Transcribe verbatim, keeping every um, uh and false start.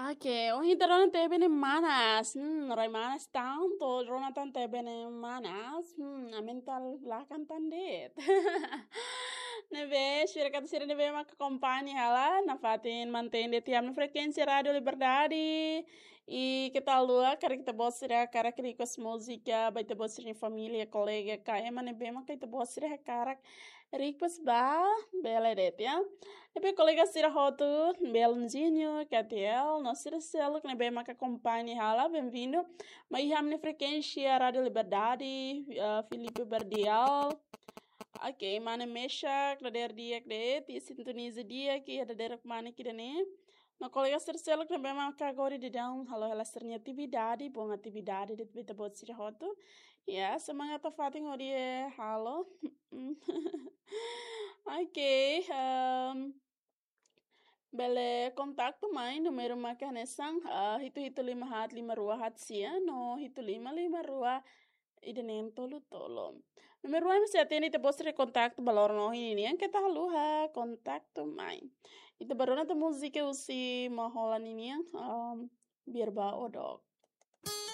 Oke, ohin ita rona T V ne'e manas. Hmm, rai manas tantu, rona tan T V ne'e manas. Hmm, a mental lakan tan de'it. Ne'ebé, sira katak sira ne'ebé maka akompaña hela, nafatin mantein de'it ami-nia frekuénsia Rádiu Liberdade. I keta haluha, karik ita-boot sira hakarak request múzika, ba ita-boot sira-nia família, kolega, ka ema ne'ebé maka ita-boot sira hakarak request ba, bele de'it, ya. Ne'ebé kolega sira hotu, Belunzinho, Katiel, no sira seluk ne'ebé maka akompaña hela, bem-vindo. Mai iha ami-nia frekuénsia Rádiu Liberdade, eh, Filipe Berdial. Oke, Mane Meshak, dadeer di'ak de'it, i sintoniza di'ak, i dadeer mane ida-ne'e. No kolega sira seluk ne'ebé maka agora daudaun halo hela sira-nia atividade, bom atividade de'it ba ita-boot sira hotu. Ya, semangat nafatin hodi halo. Oke, em, bele kontaktu mai, númeru maka hanesan, ah, hitu hitu lima haat lima rua haat sia, no hitu lima lima rua ida neen tolu tolu. Númeru ida-ne'e sei atende ita-boot sira-nia kontaktu ba loron ohin ninian, keta haluha kontaktu mai. Ita bá rona tan múzika husi Mahola ninian, um, Biar Ba Odok.